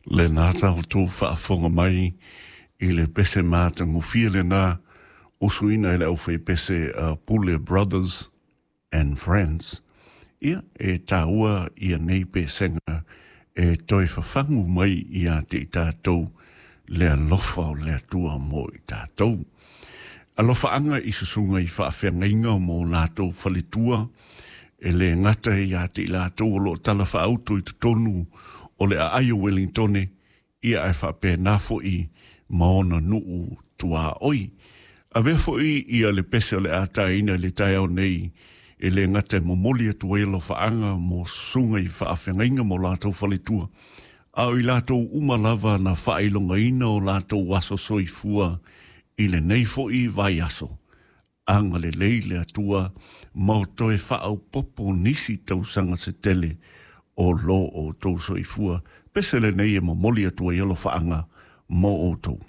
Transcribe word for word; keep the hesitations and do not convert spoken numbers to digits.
Lena tatou faafofoga mai i le pese matagofie lena usuina e le aufaipese uh, Pule Brothers and Friends. Ia, e taua ia nei pesega e toe fafagu mai ia te i tatou le alofa o le Atua mo i tatou. Alofaaga i susuga i faafeagaiga mo latou faletua e le gata ia te i latou o loo tala faauto i totonu o le aai o Wellingtone, ia ae faapena fo'i ma ona nuu tuaoi. Avea fo'i ia le pese o le a taina i le taeao nei e le gata e momoli atu ai alofaaga mo susuga i faafeagaiga mo latou faletua, a o i latou uma lava na faailogaina o latou aso soifua i lenei fo'i vaiaso. Agalelei le Atua ma o toe faaopoopo nisi tausaga se tele o lo outou soifua. Pese lenei e momoli atu ai alofaaga mo outou.